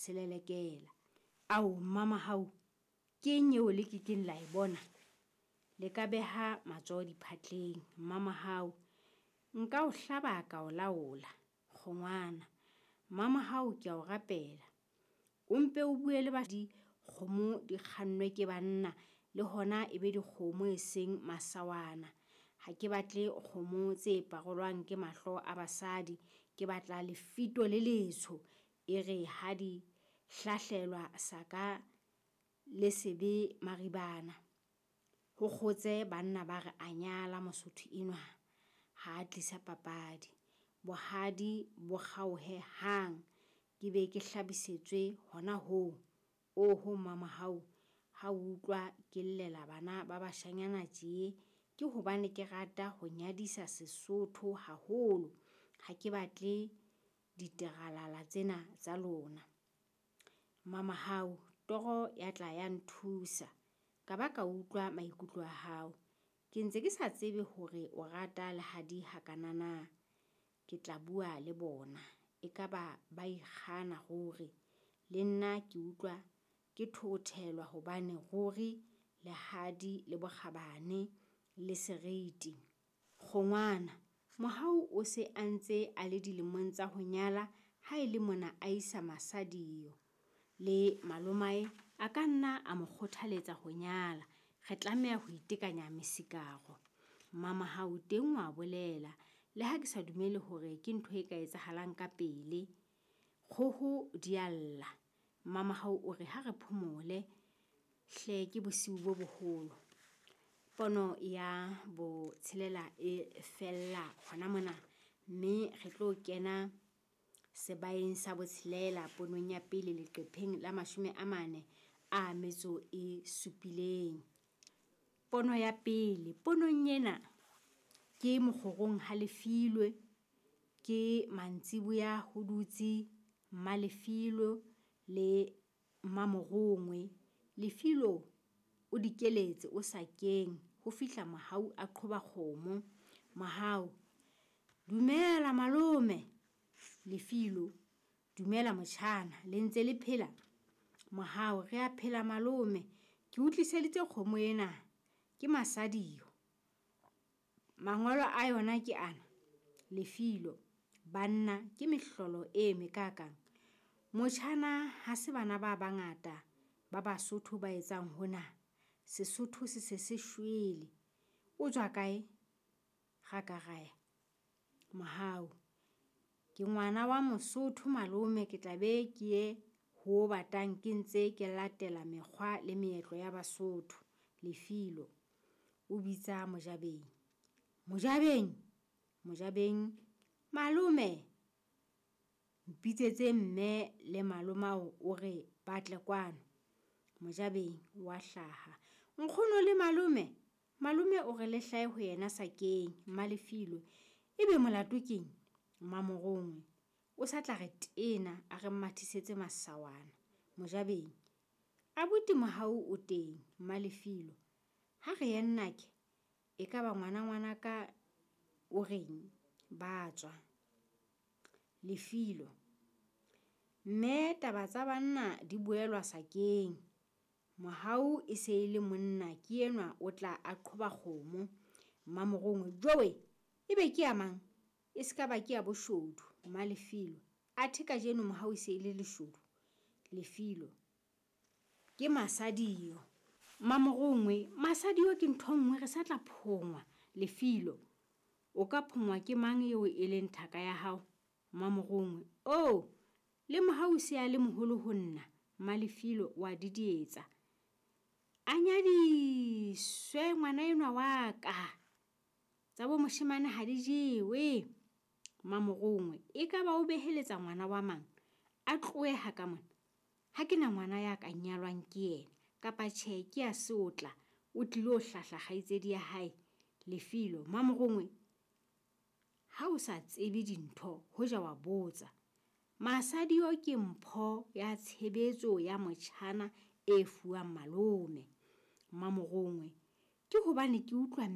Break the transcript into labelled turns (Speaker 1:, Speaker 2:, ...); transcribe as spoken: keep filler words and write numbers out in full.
Speaker 1: Selelekela. Ao Mmamahau, ke eng eo le ke keng la e bona? Le ka beha matsoho diphatleng. Mmamahau, nka o hlaba ka o laola. Kgongwana, Mmamahau ke a o rapela. O mpe o bue le ba dikgomo di kgannwe ke banna, le hona e be dikgomo e seng masawana. Ha ke batle kgomo tse parolwang ke mahlo a basadi. Ke batla lefito le letsho. E re ha di hlahlelwa saka le sebe maribana. Ho kgotse banna ba re a nyala Mosotho enwa. Ha a tlisa papadi. Bohadi bo kgaohe hang. Ke be ke hlabisetswe hona hoo. Oho Mmamahau, ha o utlwa ke llela bana ba bashanyana tje, ke hobane ke rata ho nyadisa Sesotho haholo. Ha ke batle diteralala tsena tsa lona. Mmamahau, toro ya tla ya nthusa. Ka ba ka utlwa maikutlo a hao. Ke ntse ke sa tsebe hore o rata lehadi hakana na. Ke tla bua le bona. Ekaba ba ikgana ruri. Le nna ke utlwa ke thoothelwa hobane ruri lehadi le bokgabane le seriti. Kgongwana, Mohau o se a ntse a le dilemong tsa ho nyala ha e le mona a isa Masadiyo. Le malomae a ka nna a mo kgothaletsa ho nyala. Re tlameha ho itekanya mesikaro. Mmamahau teng wa bolela. Le ha ke sa dumele hore ke ntho e ka etsahalang ka pele. Kgoho di a lla. Mmamahau o re ha re phomole hle ke bosiu bo boholo. Pono ya botshelela e fella hona mona, mme re tlo kena sebaeng sa botshelela ponong ya pele leqepheng la mashome a mane a metso e supileng. Pono ya pele, ponong ena ke mokgorong ha Lefilwe, ke mantsiboya ho dutse Mmalefilwe le Mmamorongwe. Lefilo o dikeletse o sakeng ho fihla Mohau a qhoba kgomo. Mohau, dumela malome. Lefilo, dumela motjhana, le ntse le phela? Mohau, re a phela malome. Ke o tliseditse kgomo ena, ke Masadiyo. Mangolo a yona ke ana. Lefilo, banna ke mehlolo e mekakang. Motjhana ha se bana ba bangata ba Basotho ba etsang hona. Sesotho se se se shwele. O tswa kae? Rakaraya. Mohau, ke ngwana wa Mosotho malome, ke tla be ke ye ho batang ke ntse ke latela mekgwa le meetlo ya Basotho. Lefilo o bitsa Mojabeng. Mojabeng, Mojabeng, malome. Mpitsetse mme le malomao o re ba tle kwano. Mojabeng wa hlaha. Nkgono le malome. Malome o re le hlahe ho yena sakeng. Mmalefilo, ebe molato keng? Mmamorongwe o sa tla re tena a re mathisetse masawana. Mojabeng, abuti Mohau o teng. Mmalefilo, ha re ye nnake, ekaba ngwana ngwana ka o reng? Ba tswa. Lefilo, mme taba tsa banna di buelwa sakeng. Mohau e se e le monna ke enwa o tla a qhoba kgomo. Mmamorongwe, jowe ebe ke ya mang? E se ka ba ke ya boshodu. Mmalefilo, athe kajeno Mohau e se e le leshodu. Lefilo, ke Masadiyo. Mmamorongwe, Masadiyo ke ntho nngwe re sa tla phongwa. Lefilo, o ka phongwa ke mang eo e leng thaka ya hao? Mmamorongwe, oh, le Mohau se a le moholo ho nna. Mmalefilo wa didietsa. A nyadiswe ngwana enwa wa ka. Tsa bo moshemane ha di jewe. Mmamorongwe, ekaba o beheletsa ngwana wa mang? A tlohe ha ka mona. Ha ke na ngwana ya ka nyalwang ke yena. Kapa tjhe ke ya seotla, o tlilo hlahla kgaitsedi ya hae. Lefilo, Mmamorongwe, ha o sa tsebe dintho hoja wa botsa. Masadiyo ke mpho ya tshebetso ya motjhana e fuwang malome. Mmamorongwe, ke hobane ke utlwa